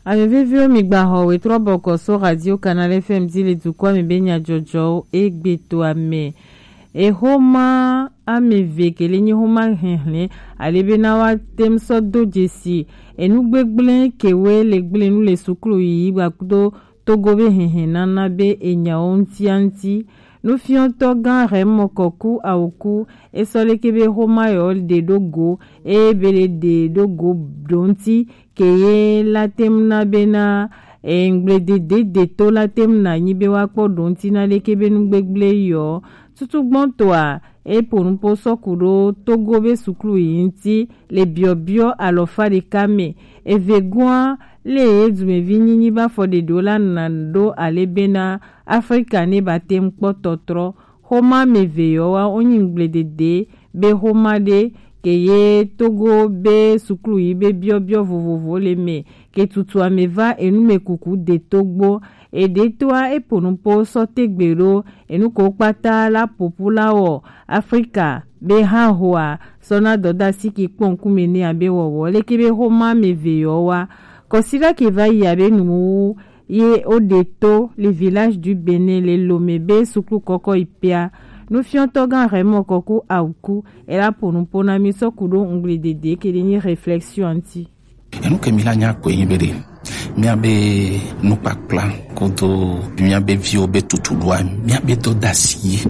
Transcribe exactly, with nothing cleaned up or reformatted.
Ame veviwo, mi gba xɔ wetrɔ bɔkɔ so Radio Canal F M di le dukɔa me be nyajɔjɔwo egbe to ame. Exoma ame eve ke le nyi xoma hɛnhlɛn ale be na wa tem sɔ do jesi enu gbegblẽ ke we le gblẽ nu le suklu yiyi gba kudo Togo be hɛnhɛn nana be enyawo ŋutia ŋuti. Nufiɔtɔ gã Raymond Kɔku Awuku, e sɔ leke be xoma yɔ ɖe ɖo go, eye be le ɖe ɖo go ɖo ŋuti, ke ye la tem na be na, e, ŋgble dede de to la tem na nyi be wa kpɔ ɖo ŋuti na leke be nu gbegblẽ yɔ. Tutu gbɔn toa, e po nupo sɔ ku ɖo Togo be suklu yi ŋuti le biɔbiɔ alɔfa ɖeka me. Eve goa le ye dumevi nyinyi ba fɔ ɖeɖo la na ɖo ale be na Afrika ne ba tem kpɔ tɔtrɔ. Xoma me ve yɔ wa onyi ŋgble dede be xoma ɖe ke ye Togo be suklu yi be biɔbiɔ vovovo le me ke tutu ame va enu me kuku de togbo. Eɖe toa e po nupo sɔ tegbe ɖo enu ko kpata la popu la wɔ Afrika be ha hoa sɔ na dɔdasi ki kpɔ ŋkume ne abe wɔwɔ leke be xoma me ve yɔ wa. Kɔsida ke va yi abe nuwu ye o ɖe to le Village du Bénin le Lomé be suklu kɔkɔ yi pia. Nufiɔtɔ gã Raymond Kɔku Awuku e la po nupo na mi sɔ ku ɖo ŋgble dede ke ɖe nyi réflexion ŋuti. Enu ke mi la nya koe nyi be ɖe míabe nukpakpla kodo míabe viwo be tutuɖoa míabe dɔdasi ye